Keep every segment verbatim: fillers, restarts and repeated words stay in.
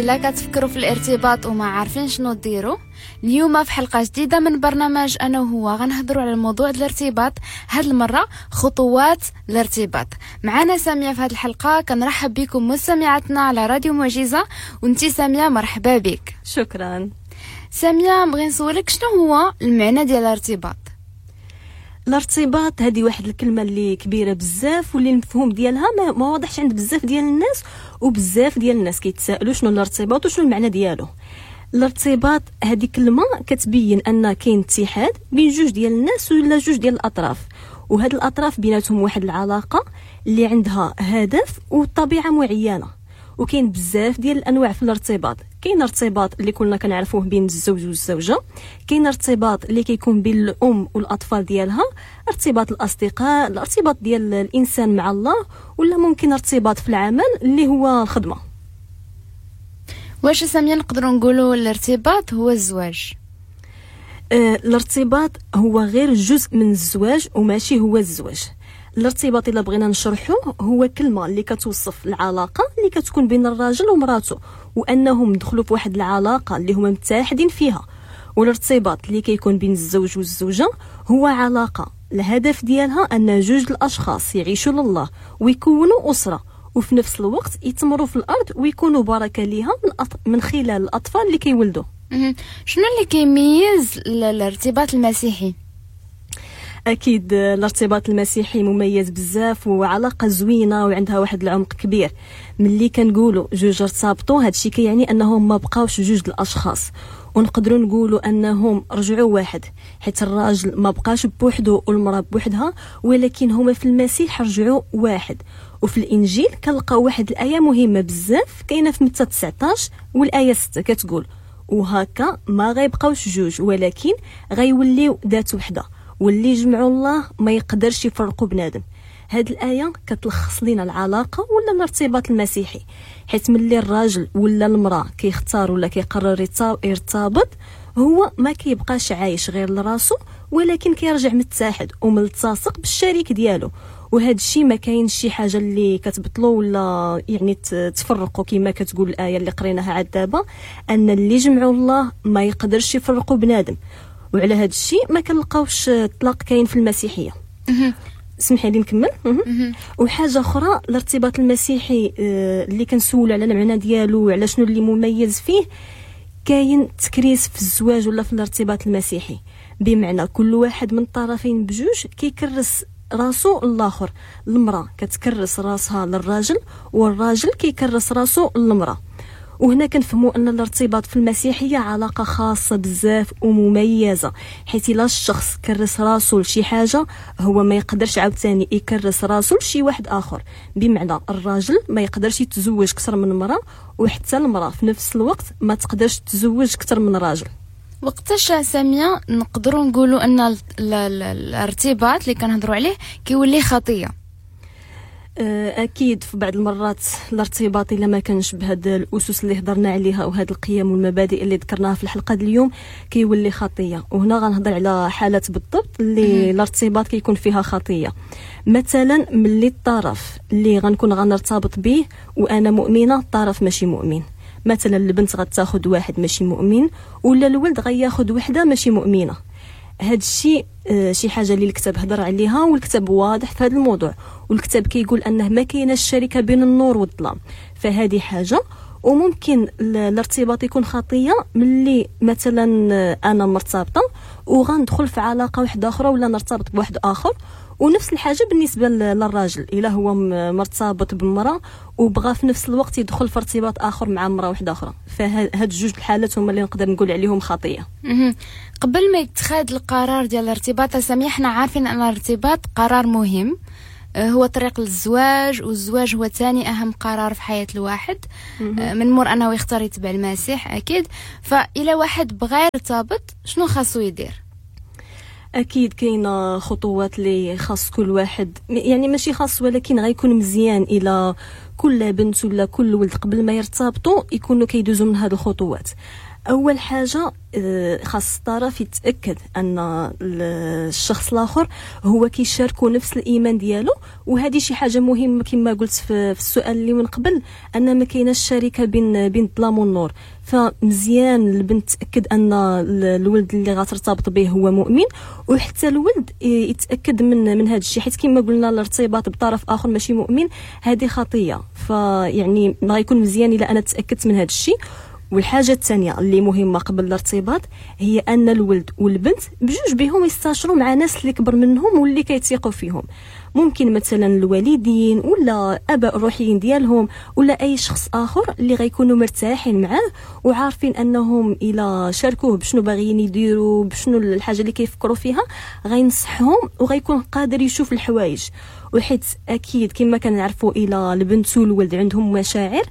الا كتفكروا في الارتباط وما عارفين شنو ديروا، اليوم في حلقة جديدة من برنامج انا وهو غنهضروا على الموضوع ديال الارتباط. هاد المرة خطوات الارتباط. معنا سامية في هاد الحلقة. كنرحب بكم مستمعاتنا على راديو معجزه، وانتي سامية مرحبا بك. شكرا سامية. بغي نسولك شنو هو المعنى ديال الارتباط؟ الارتباط هذه واحد الكلمة اللي كبيرة بزاف واللي المفهوم ديالها ما, ما واضحش عند بزاف ديال الناس، وبزاف ديال الناس كيتسائلوا شنو الارتباط وشنو المعنى ديالو. الارتباط هذه كلمة كتبين ان كاين اتحاد بين جوج ديال الناس ولا جوج ديال الاطراف، وهاد الاطراف بيناتهم واحد العلاقة اللي عندها هدف وطبيعه معينة. وكاين بزاف ديال الانواع في الارتباط. كاين ارتباط اللي كلنا كنعرفوه بين الزوج والزوجة، كاين ارتباط اللي كيكون بين الام والاطفال ديالها، ارتباط الاصدقاء، الارتباط ديال الانسان مع الله، ولا ممكن ارتباط في العمل اللي هو الخدمة. واش سامية نقدروا نقولوا الارتباط هو الزواج؟ آه، الارتباط هو غير جزء من الزواج وماشي هو الزواج. الارتباط الا بغينا نشرحوه هو كلمة اللي كتوصف العلاقة اللي كتكون بين الراجل ومراته، وانهم دخلوا في واحد العلاقة اللي هما متحدين فيها. والارتباط اللي كيكون بين الزوج والزوجة هو علاقة الهدف ديالها ان جوج الاشخاص يعيشوا لله ويكونوا اسره، وفي نفس الوقت يتمروا في الارض ويكونوا بركة ليها من, أط... من خلال الاطفال اللي كيولدوا. شنو اللي كيميز الارتباط المسيحي؟ اكيد الارتباط المسيحي مميز بزاف وعلاقة زوينة وعندها واحد العمق كبير. ملي كنقولوا جوج ارتبطوا، هادشي كيعني انهم ما بقاوش جوج الاشخاص، ونقدروا نقولوا انهم رجعوا واحد، حيت الراجل ما بقاش بوحدو والمراة بوحدها، ولكن هما في المسيح رجعوا واحد. وفي الانجيل كنلقاو واحد الايه مهمة بزاف كاينه في متى تسعطاش والايه ستة، كتقول وهكا ما غيبقاوش جوج ولكن غيوليو ذات وحده، واللي جمعوا الله ما يقدرش يفرقوا بنادم. هاد الايه كتلخص لينا العلاقة ولا الارتباط المسيحي، حيت ملي الراجل ولا المراة كيختار ولا كيقرر يرتبط، هو ما كيبقاش عايش غير لراسو، ولكن كيرجع متحد وملتصق بالشريك ديالو. وهذا الشيء ما كاينش شي حاجة اللي كتبطلو ولا يعني تفرقوا، كما كتقول الايه اللي قريناها عاد دابا، ان اللي جمعوا الله ما يقدرش يفرقوا بنادم. وعلى هذا الشيء ما كنلقاوش الطلاق كاين في المسيحية. سمحي لي نكمل. وحاجه اخرى، الارتباط المسيحي اللي كنسولوا على المعنى ديالو وعلى شنو اللي مميز فيه، كاين تكريس في الزواج ولا في الارتباط المسيحي، بمعنى كل واحد من الطرفين بجوج كيكرس راسو للاخر. المراة كتكرس راسها للراجل والراجل كيكرس راسو للمراة. وهنا كنفهموا ان الارتباط في المسيحية علاقة خاصة بزاف ومميزة، حيت الا الشخص كرس راسو لشي حاجة هو ما يقدرش عاوتاني يكرس راسو لشي واحد اخر. بمعنى الراجل ما يقدرش يتزوج اكثر من مراة، وحتى المراة في نفس الوقت ما تقدرش تتزوج اكثر من راجل. وقتاش سامية نقدروا نقولوا ان الارتباط اللي كنهضروا عليه كيولي خطيه؟ اكيد في بعض المرات الارتباط الا ما كانش بهاد الاسس اللي هضرنا عليها وهاد القيم والمبادئ اللي ذكرناها في الحلقة ديال اليوم كيولي خطيه. وهنا غنهضر على حالات بالضبط اللي الارتباط كيكون فيها خطيه. مثلا ملي الطرف اللي غنكون غنرتبط به وانا مؤمنة، الطرف ماشي مؤمن. مثلا البنت غتاخذ واحد ماشي مؤمن، ولا الولد غياخذ وحده ماشي مؤمنة. هاد الشيء شي حاجة اللي الكتاب هضر عليها، والكتاب واضح في هذا الموضوع، والكتاب كيقول انه ما كايناش شركة بين النور والظلام. فهذه حاجة. وممكن الارتباط يكون خطيه ملي مثلا انا مرتبطة وغندخل في علاقة واحدة اخرى ولا نرتبط بواحد اخر. ونفس الحاجة بالنسبة للراجل، الا هو مرتبط بمراه وبغى في نفس الوقت يدخل في ارتباط اخر مع مراة واحدة اخرى. فهاد جوج الحالات هما اللي نقدر نقول عليهم خطيه. قبل ما يتخذ القرار ديال الارتباط سامية، حنا عارفين ان الارتباط قرار مهم، هو طريق للزواج، والزواج هو ثاني اهم قرار في حياة الواحد من مور انه يختار يتبع المسيح اكيد. فإلا واحد بغى يرتبط شنو خاصو يدير؟ اكيد كاينه خطوات اللي خاص كل واحد، يعني ماشي خاص ولكن غيكون مزيان الى كل بنت ولا كل ولد قبل ما يرتبطوا يكونوا كيدوزوا من هاد الخطوات. اول حاجة خاص الطرف يتاكد ان الشخص الاخر هو كيشاركو نفس الايمان ديالو، وهذه شي حاجة مهمة كما قلت في السؤال اللي من قبل، ان ما كايناش شركة بين بين الظلام والنور. فمزيان البنت تاكد ان الولد اللي غترتبط به هو مؤمن، وحتى الولد يتاكد من من هذا الشيء، حيت كما قلنا الارتباط بطرف اخر ماشي مؤمن هذه خطيه. فيعني غيكون مزيان الا انا تاكدت من هذا الشيء. والحاجة الثانية اللي مهمة قبل الارتباط هي ان الولد والبنت بجوج بهم يستشروا مع ناس اللي كبر منهم واللي كيتيقوا فيهم، ممكن مثلا الوالدين ولا اباء الروحيين ديالهم ولا اي شخص اخر اللي غيكونوا مرتاحين معاه وعارفين انهم الى شاركوه بشنو باغيين يديروا، بشنو الحاجة اللي كيفكروا فيها، غينصحهم وغيكون قادر يشوف الحوايج. وحيت اكيد كما كنعرفوا الى البنت والولد عندهم مشاعر،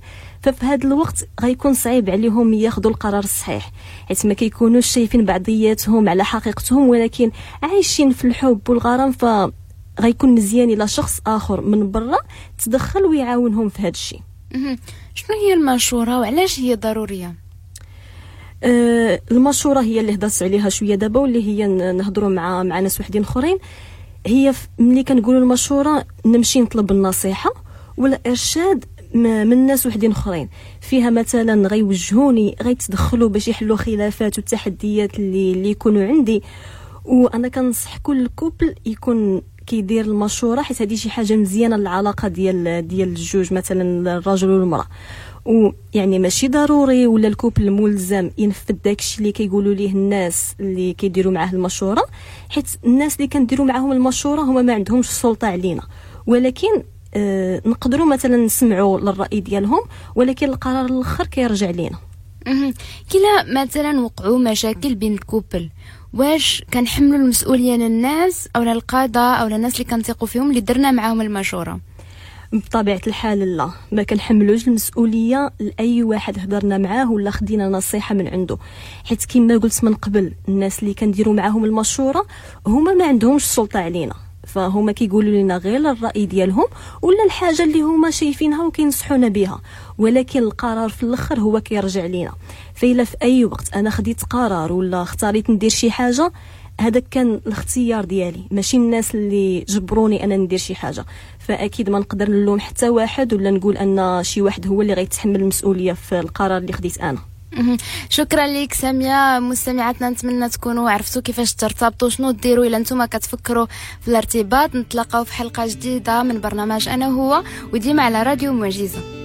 ففي هذا الوقت غيكون صعيب عليهم ياخذوا القرار الصحيح، حيت ما كيكونوش شايفين بعضياتهم على حقيقتهم، ولكن عايشين في الحب والغرام. ف غيكون مزيان الى شخص اخر من برا تدخل ويعاونهم في هذا الشيء. شنو هي المشورة وعلاش هي ضرورية؟ أه المشورة هي اللي هضرت عليها شوية دابا، واللي هي نهضروا مع مع ناس وحدين اخرين. هي ملي كنقولوا المشورة نمشي نطلب النصيحة ولا ارشاد من ناس وحدين اخرين، فيها مثلا غيوجهوني، غيتدخلوا باش يحلوا خلافات والتحديات اللي اللي يكونوا عندي. وانا كنصح كل couple يكون كيدير المشورة، حيت هذه شي حاجة مزيانه للعلاقة ديال ديال الجوج مثلا الرجل والمراة. ويعني ماشي ضروري ولا ال couple ملزم ينفذ داكشي اللي كيقولوا ليه الناس اللي كيديروا معاه المشورة، حيت الناس اللي كنديروا معاهم المشورة هما ما عندهمش السلطة علينا، ولكن آه نقدروا مثلا نسمعوا للراي ديالهم، ولكن القرار الاخر كيرجع لينا. كلا مثلا وقعوا مشاكل بين ال couple، واش كنحملوا المسؤولية للناس او للقاده او للناس اللي كنثقوا فيهم اللي درنا معاهم المشورة؟ بطبيعة الحال لا، ما كنحملوش المسؤولية لاي واحد هضرنا معاه ولا خدينا نصيحة من عنده، حيت كما قلت من قبل الناس اللي كنديروا معاهم المشورة هما ما عندهمش السلطة علينا، فهما كيقولوا لنا غير الراي ديالهم ولا الحاجة اللي هما شايفينها وكينصحونا بها، ولكن القرار في الاخر هو كيرجع لينا. فإلا في اي وقت انا خديت قرار ولا اختاريت ندير شي حاجة، هذا كان الاختيار ديالي، ماشي الناس اللي جبروني انا ندير شي حاجة. فاكيد ما نقدر نلوم حتى واحد ولا نقول ان شي واحد هو اللي غيتحمل المسؤولية في القرار اللي خديت انا. شكرا لك سامية. مستمعاتنا نتمنى تكونوا عرفتوا كيفاش ترتبطوا، شنو ديروا الا نتوما كتفكروا في الارتباط. نتلاقاو في حلقة جديدة من برنامج انا هو، وديما على راديو معجزه.